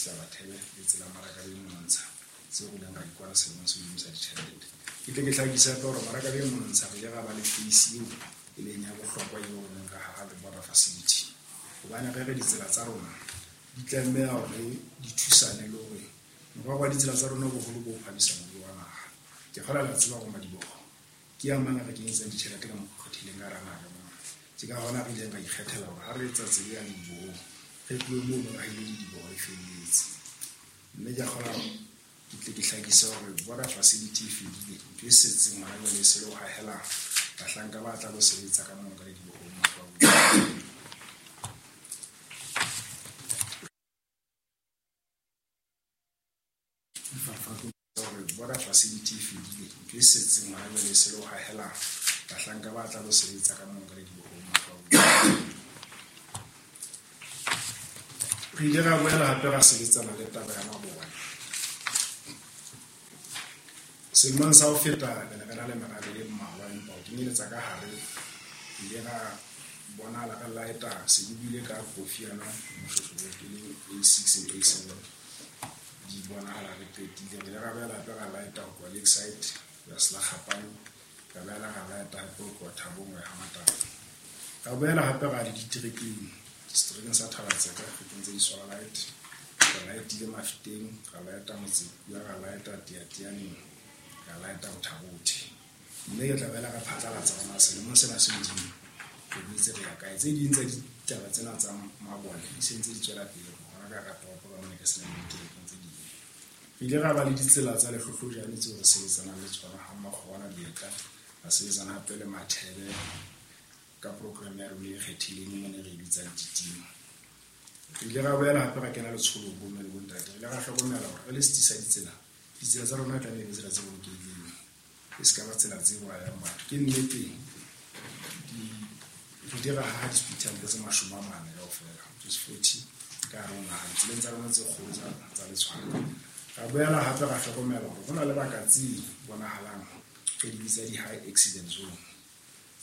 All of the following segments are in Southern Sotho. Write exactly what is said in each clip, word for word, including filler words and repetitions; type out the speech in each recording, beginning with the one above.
Sehlabathebe le tsela Marakabeng Monontsha tseo re ileng ra di kwala selemong se hodimo sa ditjhelete. Ke tle ke hlakise hape hore Marakabeng Monontsha re ile ra ba le phase eo e leng ya bohlokwa eo re neng ra haha le border facility. Hobane re re ditsela tsa rona di tlameha hore di thusane le hore morero wa ditsela tsa rona boholo bo phamisa moruo wa naha. Ke kgolwa le a tseba hore madiboho ke a mang a re kenyetsang ditjhelete ka mokgwa o kgethehileng ka hara naha ka mona. Ke ka hona re ileng ra ikgethela hore ha re etsa tsela ya ledibohong re tlohe mono re ahile lediboho le felletse. Mme ke a kgolwa ke tle ke hlakise hore border facility e fedile. Ntho e setseng hona jwale e se le ho hahela bahlanka ba tla lo sebetsa ka mono ka ledibohong matlo a bona. Hore border facility e fedile. Ntho e setseng hona jwale e se le ho hahela bahlanka ba tla lo sebetsa ka mono ka ledibohong matlo a bona. Re ile ra boela hape ra sebetsana le taba ya mabone. Selemong sa ho feta re ne re na le merabe e mmalwa, empa ho kenyeletsa ka hare re ile ra bonahala re laeta se ke buile ka kofi yana moshweshwe e leng A six le A seven di bonahala re qetile. Re ile ra boela hape ra laeta ho tloha Lakeside ho ya Selakgapane, ra boela ra laeta hape ho tloha Thabong ho ya ha Matala. Ra boela hape ra le diterekeng, seterekeng sa Thabatseka re kentse di-solar light, ra laetile Mafeteng, ra laeta Motsekua, ra laeta Teateaneng, ra laeta ho Thabothe. Mme ke tla boela ra phatlalatsa hore na selemong sena se hodimo re boetse re ya kae. Tse ding tsa ditaba tsena tsa mabone di se ntse di tswela pele hona ka hara toropo ka mona ke se nang diterekeng tse ding. Re ile ra ba le ditsela tsa lehlohlojane tseo re sebetsanang le tsona ha Makgona Dietla, ra sebetsana hape le Mathebe ka program ya rona e kgethileng mona re e bitsang Titima. Re ile ra boela hape ra kena letsholong bomme le bontate. Re ile ra hlokomela hore re le setsi sa ditsela, ditsela tsa rona e tlameha e be tsela tse bolokehileng, e se ka ba tsela tse bolayang batho. Ke nnete di re ile ra haha di-speed hump tse mashome a mane kaofela, which is forty ka hare ho naha ditseleng tsa rona tse kgolo tsa tsa letshwao. Ra boela hape ra hlokomela hore ho na le baka tse bonahalang re di bitsa di-high accident zone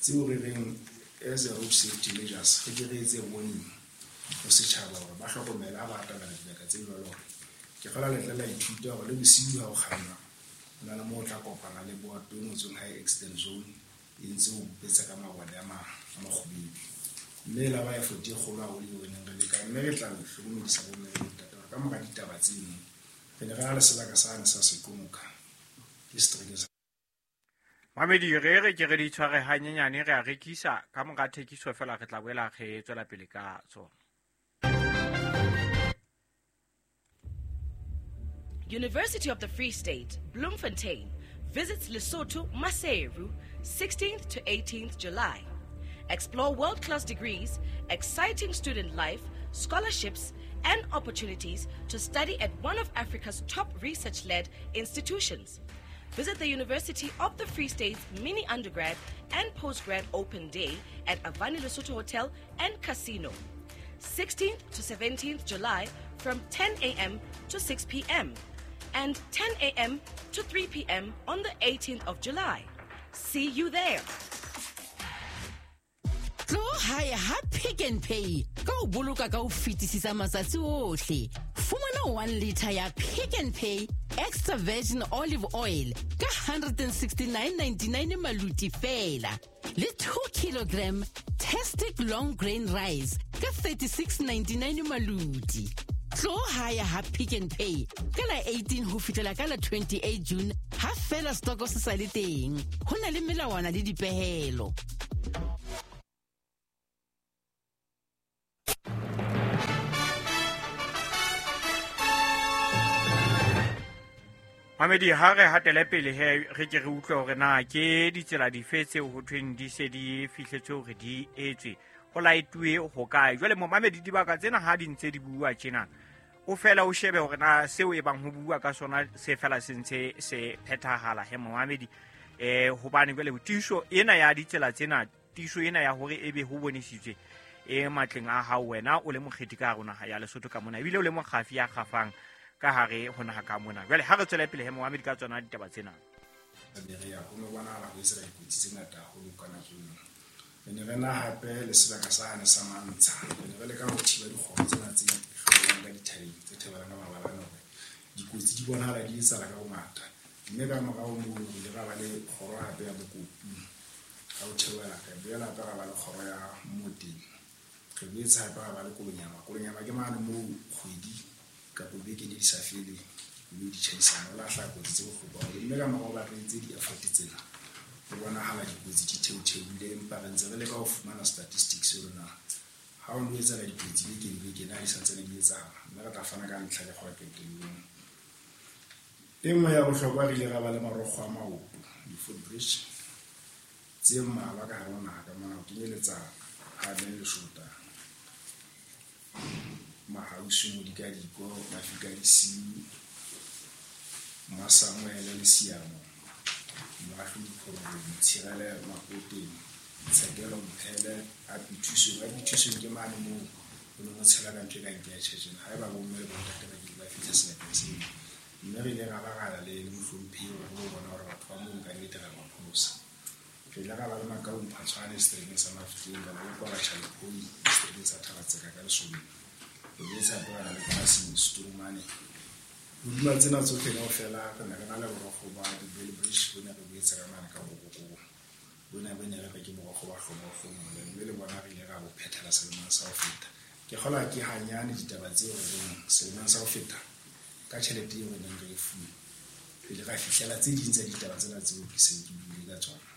tseo re reng as a road safety measures re ke re etse warning ho setjhaba hore ba hlokomele ha ba atamela dibaka tse jwalo. Hore ke kgolwa le tla la ithuta hore le bosiu ha o kganna ho na le moo o tla kopana le boto e ngotsweng high accident zone e ntse o betsa ka mabone a a makgubedu. Mme e la ba effort e kgolo haholo eo re neng re leka, mme re tla le hlokomedisa bomme le bontate hore ka mora ditaba tseno re ne re na le sebaka sane sa Sekomoka ke seterekeng sa Mamedi re re ke re di tshware hanyenyane re a rekisa ka mora thekiso fela re tla boela re tswela pele ka tsona. University of the Free State, Bloemfontein, visits Lesotho, Maseru, sixteenth to eighteenth July. Explore world-class degrees, exciting student life, scholarships, and opportunities to study at one of Africa's top research-led institutions. Visit the University of the Free State's mini undergrad and postgrad open day at Avani Lesotho Hotel and Casino, sixteenth to seventeenth July from ten a m to six p m and ten a m to three p m on the eighteenth of July. See you there. Tlo hae ha Pick n Pay ka ho boloka ka ho fetisisa matsatsi ohle. Fumana one liter ya Pick n Pay extra virgin olive oil ka one hundred sixty-nine ninety-nine maluti fela. Le two kilogram Tastic long grain rice ka thirty-six ninety-nine maluti. Tlo hae ha Pick n Pay ka la eighteen ho fihlela ka la twenty-eight June ha fela stoko se sa le teng. Ho na le melawana le dipehelo. Mamedi ha re hatele pele he re ke re utlwe hore na ke ditsela dife tseo ho thweng di se di fihletse hore di etswe ho laetuwe ho kae. Jwale momamedi dibaka tsena ha di ntse di bua tjena o fela o shebe hore na seo e bang ho bua ka sona se fela se ntse se phethahala he momamedi. Eh hobane jwale tiiso ena ya ditsela tsena, tiiso ena ya hore ebe ho bonesitswe e matleng a hao wena o le mokgethi ka rona ya Lesotho ka mona, ebile o le mokgafi ya kgafang ka hare ho naha ka mona. Jwale ha re tswele pele he momamedi ka tsona ditaba tsena. Berea ho no bonahala ho etsa dikotsi tse ngata haholo ka nako eno. Re ne re na hape le sebaka sane sa Mantsha. Re ne re leka ho thiba dikgoro tsena tse hlolang ka dithabeng tse theohelang ka mabalane hore dikotsi di bonahala di etsahala ka bongata. Mme ka morao moo re ile ra ba le kgoro hape ya Mokopu. Ha o theohela re boela hape ra ba le kgoro ya Moteng. Re boetse hape ra ba le Kolonyama. Kolonyama ke mane moo kgwedi kapa beke ne di sa fele dikoloi di tjhaisana, ho la hlaha kotsi tse bohloko haholo. Mme ka morao ba re entse di-effort tsena, ho bonahala dikotsi di theotheohile, empa re ntse re leka ho fumana statistics hore na ha ho no etsahala dikotsi beke le beke na di santsane di etsahala. Mme re tla fana ka ntlha le kgwa qetellong. E nngwe ya bohlokwa re ile ra ba le marokgo a maoto, di-footbridge tse mmalwa ka hare ho naha ka mona, ho kenyeletsa Haben Leshota, Mahausu, Modikadiko, Mafika Disiu, Mmasamuele le Siamo, Moahlodi Phorobong, Tshirele Makoteng, Tshekelo Mphele, Apithusong. Apithusong ke mane moo ho neng ho tshela ka ntho e kang ke ya tjhetjhena. Haeba bomme le bontate ba kile ba fihla sebakeng seo. Mme re ile ra ba ra ya le mohlomphehi hore re lo bona hore batho ba moo ka nnete ra ba pholosa. Re ile ra ba le Makau Mphatshwane seterekeng sa Mafikeng, ra ba le Kwabatjha Lephoi seterekeng sa Thabatseka ka Lesobeng. Re boetse hape ra na le Polasing Setoromane. Hodima tsena tsohle kaofela re ne re na le borokgo ba di-Bell Bridge, bo ne re boetse ka mane ka Bokokong. Bo ne bo ne re re ke borokgo ba hlomohlomole, mme le bona re ile ra bo phethela selemong sa ho feta. Ke kgolwa ke hanyane ditaba tseo re reng selemong sa ho feta ka tjhelete eo re neng re e fuwe, re ile ra fihlela tse ding tsa ditaba tsena tseo ke seng ke buile ka tsona.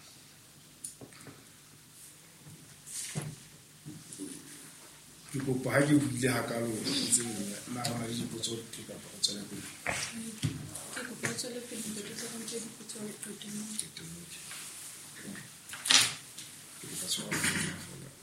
Ke kopa ha ke buile hakalo tse na ho na le dipotso kapa ho tswela pele. Ke kopa ho tswela pele, ntate, ke tla ntse dipotso qetellong. Qetellong. Ke kopa tshwarelo.